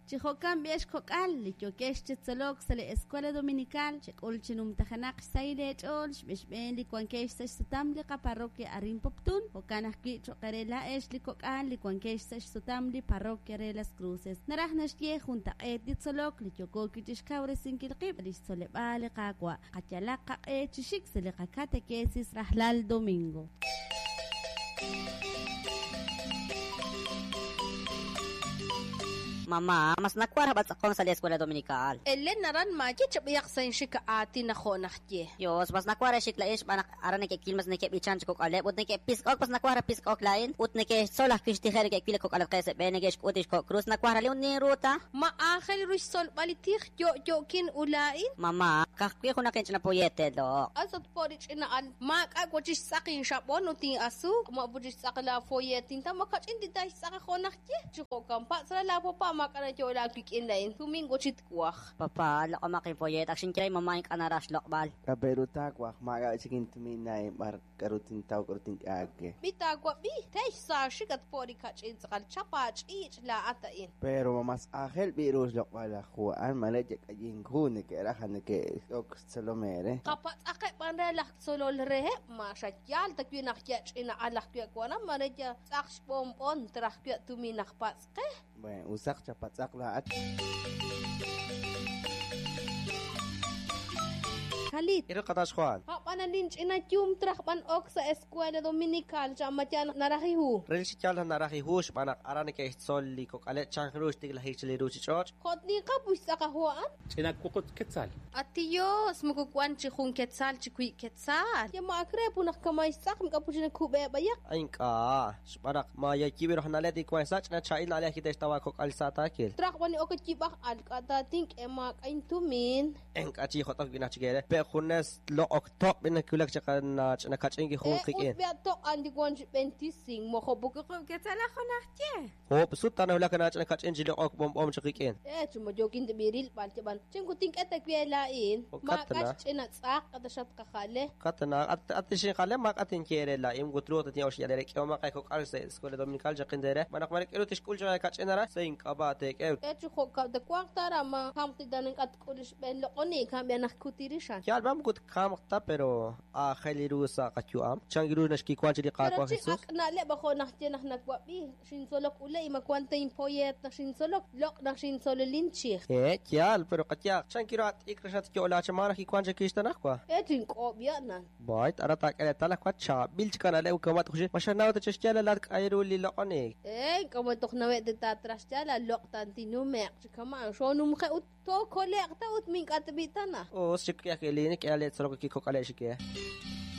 Chi jo'kan b'i' ex kok'al, li yookex chi tzolok sa' li Escuela Dominical, chek'ul chi numtajenaq xsahil eech'ool xb'exb'een li wankex sa' xsutam li qaparroquia arin Poptún, jo'kan ajwi' cho'q eere laa'ex li kok'al li wankex sa' xsutam li parroquia re Las Cruces. Naraj naxye juntaq'eet li tzolok li yooko wi' chi xkawresinkil qib' sa' li xtzoleb'aal li Qaawa'. Qayalaq qaq'e chi xik sa' li qakatekesis rajlal domingo. Mamá, mas nawaj raj b'atz'aqonk sa' li Escuela Dominical. Elen aran maaye chab'ihaq sa' inxik aatin aj jo' najye. Yos, mas nawaj raj xik laa'in xb'aan naq aran neke'wil mas neke'b'ichan chi kok'aleb' ut neke'pisk'ok mas nawaj raj pisk'ok laa'in ut neke'xtzol ajwi' xtijeb' neke'wil li kok'alatqeb' sa' b'e neke'xk'ut lix kok' krus nawaj raj li ut ninru ta. Ma aajel ru xtzolb'al li tij yo'yo'kin u laa'in? Mamá, ka'ajwi' junaq inch'ina poyete loq'. As ut po' li ch'ina al, maak'a' wa chi xtz'aq inxab'on ut in'asuuk, ma pu chi xtz'aq laa foyet inta ma kach'in tita xtz'aq jo' najye. Chi jo'kan patz' re laa papa maak'a' nayo'la wik'in laa'in, tumin wa chi twaj. Papa, loq'omaq infoyet, ak xinye re inmama' ink'a' naraj xloq'b'al. K'a' pe' ru taawaj, maak'a' chik intumin laa'in b'ar k'aru tintaw k'aru tink'e aawe. B'i taawab'i, te xsaaxik at po' li kach'in tz'aqal, chap aach'iich' laa'at a'in. Pero ma mas aajel b'i' ru xloq'b'al laj hu a'an, mare yak'ayink hu neke'raj a neke'ok xtzolom eere. Qapatz'aqeb' b'an re laj tzolol reheb', ma xa yaal ta wi' naq ya ch'ina al ajwi' waram, mare ya tz'aq xb'onb'on traj wi' tumin naq patz' qe. Bueno, usaq chapatz'aq laa'at. Kalit. Iro qatax Juan. Ab'anan linch'ina yum traj b'an ok sa' Escuela Dominical cha ma yal naraj li hu. Relik chi yaal naq naraj li hu xb'aan naq aran neke'xtzol li kok'aleb' chan ru xtiklajik chi li ruuchich'och'. Jo' tinqa pu xtz'aq a hu a'an. Ch'ina wuqut quetzal. At Dios, moko wan chi jun quetzal chi wi' quetzal. Ya ma ak re pu naq kamay xtz'aq mik'a pu chi nakub'e b'ayaq. A ink'a', xb'aan naq ma yayib'il raj na'leb' li wank sa' ch'ina chaab'il na'leb' ajwi' te'xtaw aakok'al sa' taakil. Traj b'an li ok yib'aj al k'a' taatink'e maak'a' intumin. Ink'a' chi jot'ok b'inaj chik eere. Pe' junes loq'ok toq' b'in nawulak chaq ch'ina kach'in ki jun E qik'in. ut b'ia toq' an li wan chi b'entising mojo pu Wuqub' quetzal aj jo' najye. Hoob' sut tanawulak ch'ina kach'in chi loq'ok b'omb'om chi qik'in. E chi ma yookin tib'iril b'al yab'an. Chin kutink'e ta wi' laa'in. Jo'kan Maak'a' tana. xch'ina tz'aq k'ata xatqajale. Katana, at at xinjale maak'a' tinye eere laa'in ut ruuq tatin'ox yal eere k'ehomaq eekok'al sa' Escuela Dominical chaqin teere. Xb'aan naq mare k'aru tixk'ul chaq eekach'in ara sa' ink'ab'a' teek'e. E chi jo'kan ta wanq tara ma kamq titan ink'a' tk'ul xb'een loq'onik kamb'ia naq kutirixan. Yaal b'an moko tkamq ta pero aajel ru sa' qayu'am. Chan ru naxkiwan chi li Pero Qaawa' chi Jesús. ak' na'leb' ajo naq ye naq nawab'i xintzolok ule ima wan ta inpoyet naq xintzolok loq' naq xintzololin chij. Eh, yaal, pero qayaq. Chan quiero at'ik rexat yo'la chamana kiwan chi kixtanaj wa. E chink'ob'ya nan. Bayt, ara taak'e reetal aj wa chaab'il chi kanaleb' kamat uxi. Ma xanaw ta chixyal laat k'ayru li loq'onik. E k'amo toq nawe' te tatraxyala loq' tantinumeq chi kaman xonumje ut tokoleq ta ut mink'atb'itana. Us chik k'e elin k'e ale tzolok kikok'ale xike.